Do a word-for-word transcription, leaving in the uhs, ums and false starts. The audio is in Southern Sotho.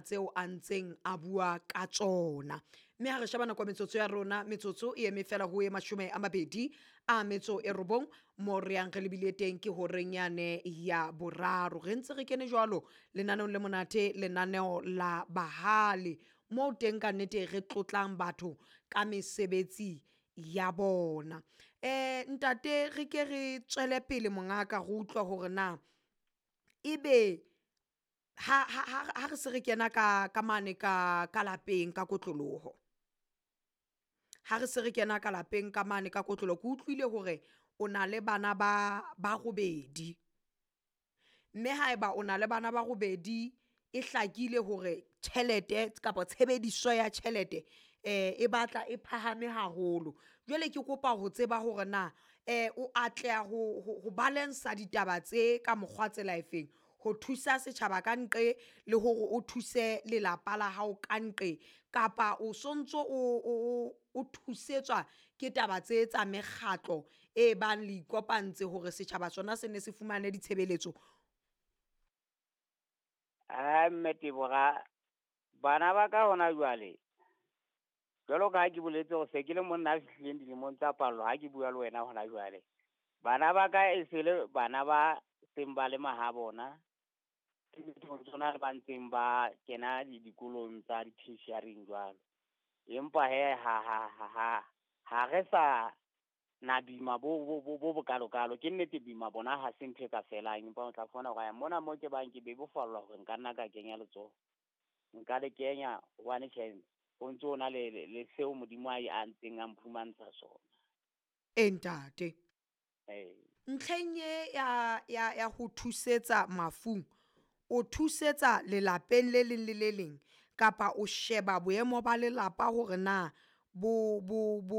Tseo a ntseng a bua ka tsona, mme ha re sheba nako ya metsotso ya rona, metsotso e eme fela ho e mashome a mabedi a metso e robong mo re yang re lebile teng ke horeng yane ya boraro. Re ntse re kene jwalo lenaneong le monate, lenaneo la bahale, moo teng ka nnete re tlotlang batho ka mesebetsi ya bona. Um ntate, re ke re tswele pele mongaka re utlwa hore na ebe ha ha ha re se re kena ka ka mane ka ka lapeng ka kotloloho, ha re se re kena ka lapeng ka mane ka kotloloho, ke utlwile hore o na le bana ba ba robedi, mme haeba o na le bana ba robedi, e hlakile hore tjhelete kapa tshebediso ya tjhelete eh e batla e phahame haholo. Jwale ke kopa ho tseba hore na eh o atleha ho ho balance-a ditaba tse ka mokgwa tsela efeng ho thusa setjhaba ka nqe le hore o thuse lelapa la hao ka nqe, kapa o sontso o o thusetswa ke taba tse tsa mekgatlo e bang le ikopantse hore setjhaba sona se ne se fumane ditshebeletso? Aa mme Tebora, bana ba ka hona jwale, jwalo ka ha ke boletse hore se ke le monna a fihlileng dilemong tsa pallo ha ke bua le wena hona jwale. Bana ba ka e se le bana ba seng ba le mahabona, tsona ba ntseng ba kena di dikolong tsa di-tertiary-ing jwalo. Empa hee ha ha ha ha ha re sa na boima bo bo bo bo bokalokalo. Ke nnete boima bona ha se ntho e ka felang, empa o tla fumana hore mona mo ke bang ke bebofallwa hore nka nna ka kenya letsoho. Nka le kenya hobane tjhe, ho ntso na le le seo Modimo a a ntseng a mphumantsha sona. E ntate. Ee. Ntlheng e ya ya ya ho thusetsa mafung, o thusetsa lelapeng le leng le le leng, kapa o sheba boemo ba lelapa hore na bo bo bo